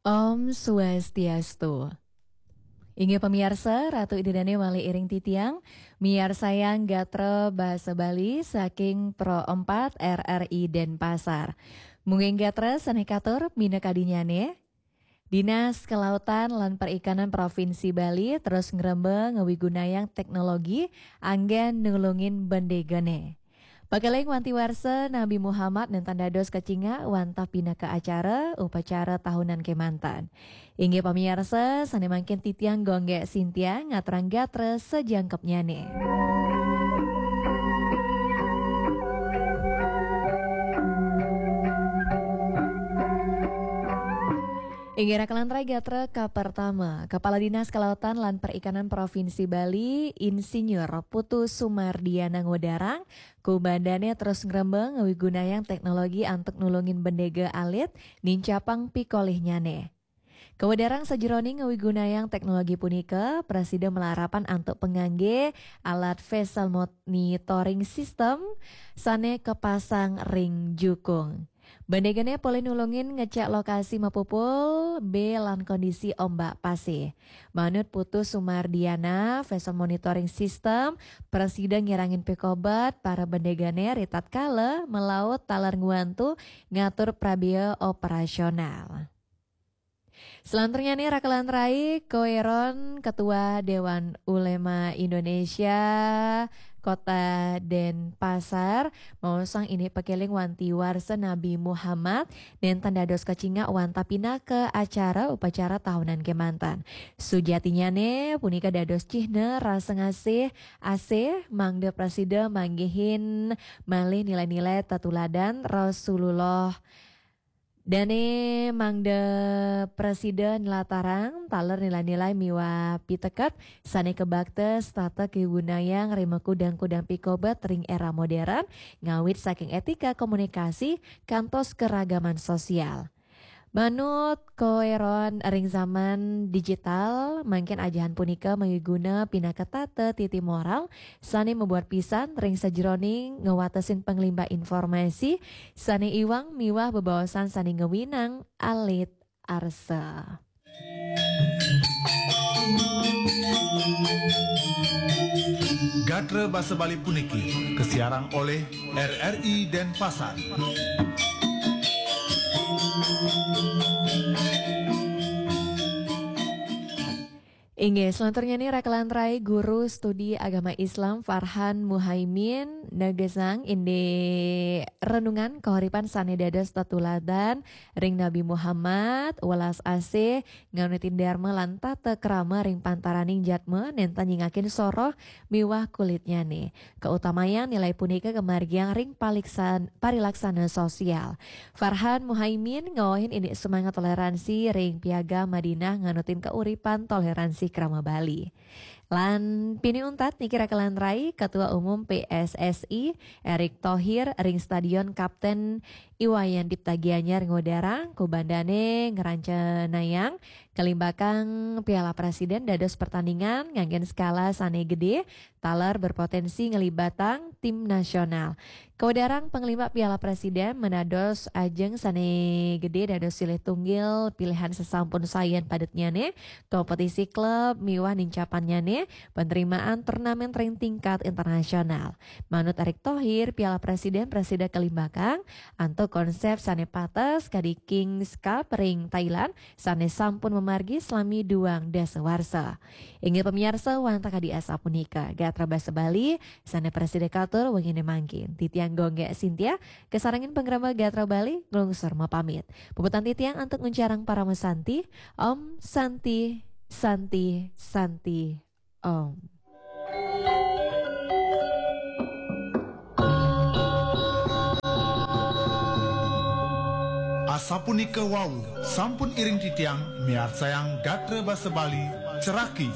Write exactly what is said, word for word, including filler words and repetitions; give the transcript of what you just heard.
Om Swastiastu. Inggih pamiarsa, Ratu Ida Dane malih iring titiang, miarsayang gatra basa Bali saking Pro empat R R I Denpasar. Mungging gatra sane katur minakadinyane, Dinas Kelautan lan Perikanan Provinsi Bali terus ngrembang ngawigunayang teknologi anggen nulungin bendegane. Pakeling wanti warsa Nabi Muhammad nenten dados kacingak wantah pinaka acara upacara tahunan kemanten. Inggih pamiarsa, sane mangkin titiang Gonggek Sintia ngaturang gatra sajangkepnyane. Inggih raka lan rai gatra kapertama, Kepala Dinas Kelautan lan Perikanan Provinsi Bali, Insinyur Putu Sumardiana ngudarang, kubandane terus ngrembang ngawigunayang teknologi antuk nulungin bendega alit nincapang pikolihnyane. Kawedarang sajeroning ngawigunayang teknologi punika, prasida malarapan antuk pangangge alat vessel monitoring system sane kapasang ring jukung. Bendegane polih nulungin ngecek lokasi mapupul, be lan kondisi ombak pasih. Manut Putu Sumardiana, vessel monitoring system prasida ngirangin pikobet para bendegane ritatkala malaut taler ngwantu ngatur prabea operasional. Selanturnyane raka lan rai, Koeron, Ketua Dewan Ulema Indonesia Kota Denpasar, maosang indik pakeling wanti warsa Nabi Muhammad nenten dados kacingak wantah pinaka acara upacara tahunan kemanten. Sujatinyane punika dados cihna rasa ngasih asih mangda prasida manggihin malih nilai-nilai tetuladan Rasulullah. Dane mangda prasida nlatarang taler nilai-nilai miwah piteket sane kabakta setata kawigunayang ring makudang-kudang pikobet ring era modern, ngawit saking etika komunikasi kantos keragaman sosial. Manut Koeron, ring zaman digital, mangkin ajahan punika mawiguna pinaka tata titi moral sane mabuat pisan ring sajeroning ngawatesin panglimbak informasi sane iwang miwah bebaosan sane ngawinang alit arsa. Gatra basa Bali puniki kasiarang olih R R I Denpasar. Inggih, selanturnyane raka lan rai, Guru Studi Agama Islam Farhan Muhaimin negesang indik renungan kahuripan sane dados tetuladan ring Nabi Muhammad, welas asih, nganutin dharma lan tata krama ring pantaraning jatma nenten nyingakin soroh miwah kulitnyane. Kautamayang nilai punika kamargiang ring paliksan-, parilaksana sosial. Farhan Muhaimin ngawahin indik semangat toleransi ring Piagam Madinah nganutin kauripan toleransi krama Bali. Lan pini untat niki raka lan rai, Ketua Umum P S S I, Erick Thohir, ring Stadion Kapten Iwayan Dipta Gianyar ngudarang kubandane ngrancanayang kalimbakang Piala Presiden dados pertandingan nganggen skala sane gede, taler berpotensi nglibatang tim nasional. Kawedarang panglimbak Piala Presiden manados ajeng sane gede dados silih tunggil pilihan sasampun sayan padetnyane, kompetisi klub miwah nincapannyane, penerimaan turnamen ring tingkat internasional. Manut Erick Thohir, Piala Presiden prasida kalimbakang antuk konsep sane pates kadi Kings Cup ring Thailand sane sampun mamargi salami duang dasa warsa. Inggih pamiarsa, wantah kadi asapunika gatra basa Bali sane prasida katur wengine mangkin. Titiang Gonggek Sintia, kasarengin pangrama Gatra Bali, nglungsur mapamit. Puputang titiang antuk nguncarang parama santi. Om Santi, Santi, Santi, Om. Asapunika wau, sampun iring titiang miarsayang gatra basa Bali, ceraki,